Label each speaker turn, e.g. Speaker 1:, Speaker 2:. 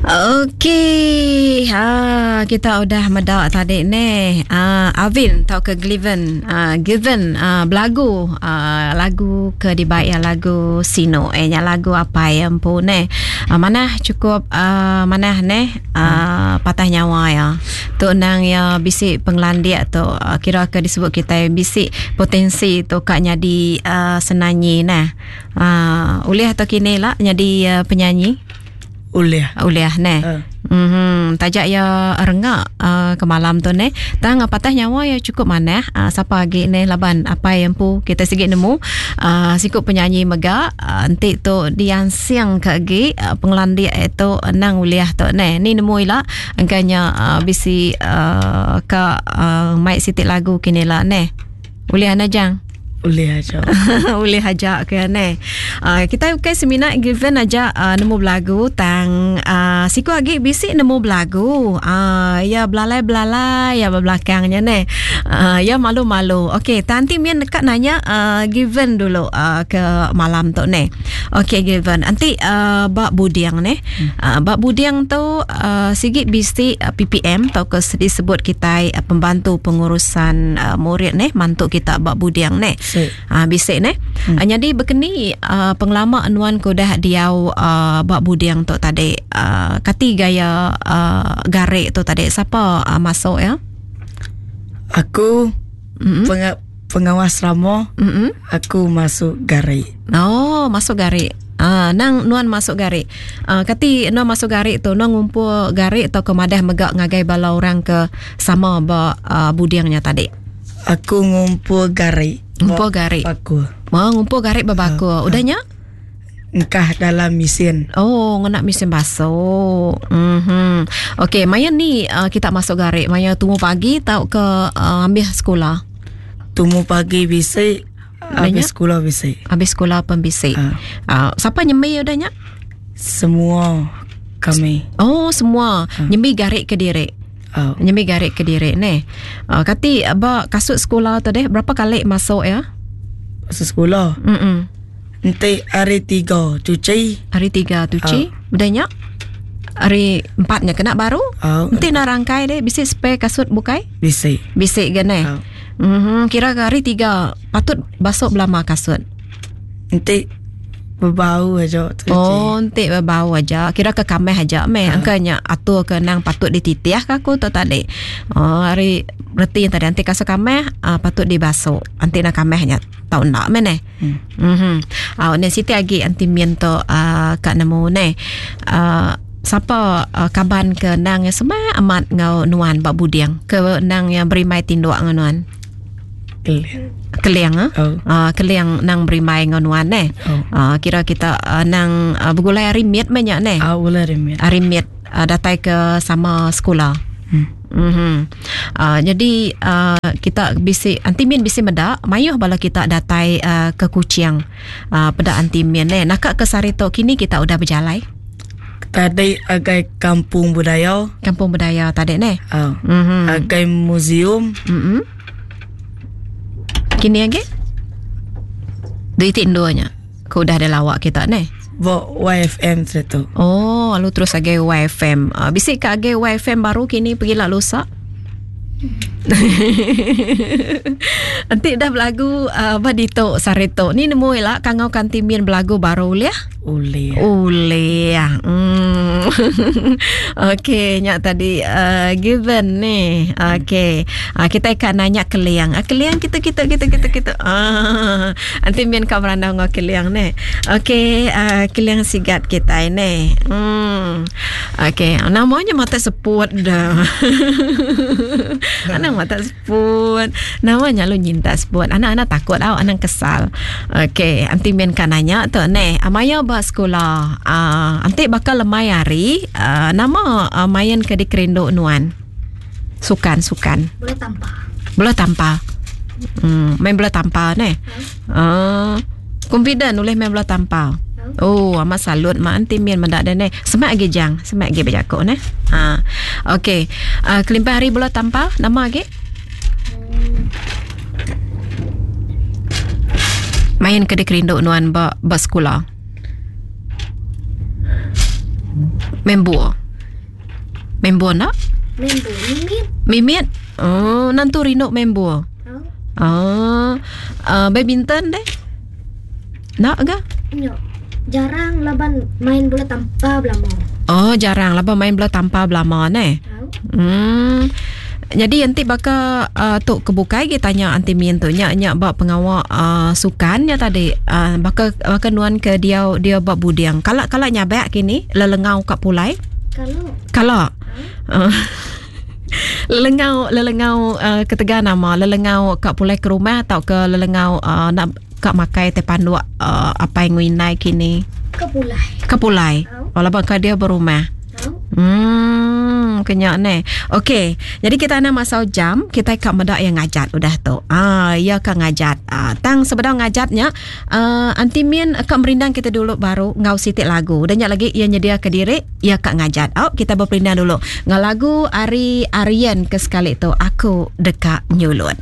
Speaker 1: Okey, ha kita udah meda tadi neh. Ha Alvin tauka Gliven, ha Given ha belagu ha lagu ke dibai iya lagu Sinu. Eh nya lagu apai iya empu neh. Ha manah chukup ha manah neh ha patah nyawa iya. Tu endang iya bisi pengelandik tu kira ke disebut kitai bisi potensi tu ka nyadi uh senanyi neh. Ha ulih tu kini la nyadi penyanyi.
Speaker 2: Ulih.
Speaker 1: Ulih neh. Uh. Mm-hmm. Taja iya rengak uh, ke malam tu neh. Tang patah nyawa iya cukup manah. Uh, sapa agi neh laban apai empu kita sigi nemu uh, siku penyanyi mega uh, enti tu diansing ke agi uh, pengelandik itu nang ulih tu neh. Ni nemu ila engka nya uh, bisi uh, ka uh, mai siti lagu kini la neh. Ulih ana jang.
Speaker 2: Ulih aja.
Speaker 1: Ulih aja ke ne. Uh, kita ukai semina given aja uh, nemu belagu tang uh, siku agi bisi nemu belagu. Uh, ya belalai-belalai ya belakangnya ne. Uh, ya malu-malu. Okey, tanti min dekat nanya uh, given dulu uh, ke malam tu ne. Okey given. Anti uh, ba buding ne. Uh, ba buding tu uh, sigi bisi uh, PPM tau ke disebut kitai uh, pembantu pengurusan uh, murid neh mantu kita ba buding neh. Uh, bisi neh. Hmm. Uh, jadi bekeni uh, pengelama nuan ke udah diau uh, ba buding tu tadi uh, kati gaya uh, garik tu tadi sapa uh, masuk ya?
Speaker 2: Aku mm-hmm. penga- pengawas ramo mm-hmm. aku masuk garik.
Speaker 1: Oh, masuk garik. Ah, nang nuan masuk garik. Ah, kati nuan masuk garik tu nuan ngumpul garik atau ke madah mega ngagai bala orang ke sama ba uh, budingnya tadi?
Speaker 2: Aku ngumpul garik.
Speaker 1: Ngumpul garik.
Speaker 2: Bakul.
Speaker 1: Oh, ngumpul garik ba bakul. Uh, Udah nya?
Speaker 2: Engkah dalam mesin.
Speaker 1: Oh, ngena mesin basuh. Mhm. Okey, maya ni uh, kita masuk garik, maya tumu pagi tau ke uh, ambil sekolah?
Speaker 2: Tumu pagi bisi, Habis sekolah bisi.
Speaker 1: Habis sekolah pun bisi. Uh. Uh, siapa nyembi udah nya?
Speaker 2: Semua kami.
Speaker 1: Oh, semua. Uh. Nyembi garik ke diri. Oh. Nyembi garik ke diri ni. Uh, kati ba kasut sekolah tu deh berapa kali masuk ya?
Speaker 2: Masuk sekolah.
Speaker 1: Mm -mm.
Speaker 2: Nanti hari tiga cuci.
Speaker 1: Hari tiga cuci. Oh. Udah nya? Hari empatnya kena baru.
Speaker 2: Oh.
Speaker 1: Nanti nak rangkai deh bisi spare kasut bukai?
Speaker 2: Bisi.
Speaker 1: Bisi ke ne?
Speaker 2: Oh.
Speaker 1: Mm-hmm. Kira ke hari tiga patut basuh belama kasut.
Speaker 2: Enti bebau aja
Speaker 1: tu. Oh, enti bebau aja. Kira ke kameh aja meh. Uh. Angka nya atur ke nang patut dititih ke aku tu tadi. Oh, hari reti tadi enti kasut kameh uh, patut dibasuh. Enti nak kameh nya tau enda meh neh.
Speaker 2: Hmm.
Speaker 1: Mhm. Uh, ne siti agi anti min tu uh, ka nemu neh. Uh, sapa uh, kaban ke nang yang semak amat ngau nuan ba buding ke nang yang berimbai tinduk ngau nuan?
Speaker 2: Keling.
Speaker 1: Keling ah.
Speaker 2: Oh.
Speaker 1: Uh, keling nang berimbai ngau nuan neh.
Speaker 2: Oh.
Speaker 1: Uh, kira kita uh, nang uh, begulai hari mit meh nya neh.
Speaker 2: Ah, begulai hari mit.
Speaker 1: Hari mit uh, datai ke sama sekolah.
Speaker 2: Hmm.
Speaker 1: Mm-hmm. Uh, jadi uh, kita bisi anti min bisi meda mayuh bala kita datai uh, ke Kuching. Uh, peda anti min eh naka ke sehari tu kini kita udah bejalai.
Speaker 2: Tadi agai kampung budaya.
Speaker 1: Kampung budaya tadi neh.
Speaker 2: Uh,
Speaker 1: mm-hmm.
Speaker 2: Agai museum.
Speaker 1: Mm-hmm. Kini agi? Duit endur nya. Ke udah ada lawak kita neh.
Speaker 2: Ba YFM tu.
Speaker 1: Oh, lalu terus agai YFM. Uh, bisi ke agai YFM baru kini pergi lah lusa? Enti dah belagu uh, ba ditu sehari tu. Ni nemu ila kangau kanti min belagu baru ulih?
Speaker 2: Ulih.
Speaker 1: Ulih. Hmm. Okey, nya tadi uh, given ni. Okey. Uh, kita akan nanya keling. Uh, keling kita kita kita kita kita. Ah. Enti min ka berandau enggau keling ni. Okey, uh, keling sigat kita ni. Hmm. Okey, namanya mata seput dah. Anang mata seput. Namanya lu nyinta seput. Anak-anak takut au, anang kesal. Okey, anti min ka nanya tu neh. Maya ba sekula, uh, anti bakal lemai hari, uh, nama uh, main ke dikerindu nuan? Sukan, sukan.
Speaker 3: Bola tampar.
Speaker 1: Bola tampar. Hmm, main bola tampar neh. Uh, confident ulih main bola tampar. Oh, amat salut mak anti min meda deh neh. Semak agi jang, semak agi bejaku neh. Ha. Okey. Uh, kelimpah hari bola tampar, nama agi? Main ke dikerindu nuan ba ba sekula. Main buah. Main bol enda?
Speaker 3: Main bol mimit.
Speaker 1: Mimit? Oh, nentu rindu main bol.
Speaker 3: Au.
Speaker 1: Oh, uh, badminton deh? Enda ga?
Speaker 3: Nya. Jarang laban main bola tampar belama.
Speaker 1: Oh, jarang laban main bola tampar belama neh.
Speaker 3: Au.
Speaker 1: Hmm. Jadi enti baka uh, tu ke bukai gi tanya anti min tu nya nya ba pengawa uh, sukan nya tadi uh, baka baka nuan ke diau dia ba buding. Kala kala nyabak kini lelengau ka pulai?
Speaker 3: Kala.
Speaker 1: Kala. Uh. Lelengau lelengau uh, ketegal nama lelengau ka pulai ke rumah atau ke lelengau uh, nak ka makai te panduk uh, apai ngui indai kini?
Speaker 3: Ke pulai.
Speaker 1: Ke pulai. Oh, laban ka dia berumah. Hmm, kenya ne. Okey, jadi kita ana masau jam, kita ka meda yang ngajat udah tu. Ah, ya ka ngajat. Ah, tang sebedau ngajatnya, uh, Aunty Min ka merindang kita dulu baru ngau siti lagu. Udah nya lagi ia nyedia ke diri, ia ka ngajat. Au, kita berperindang dulu. Ngau lagu ari Arian ke sekali tu, aku deka nyulut.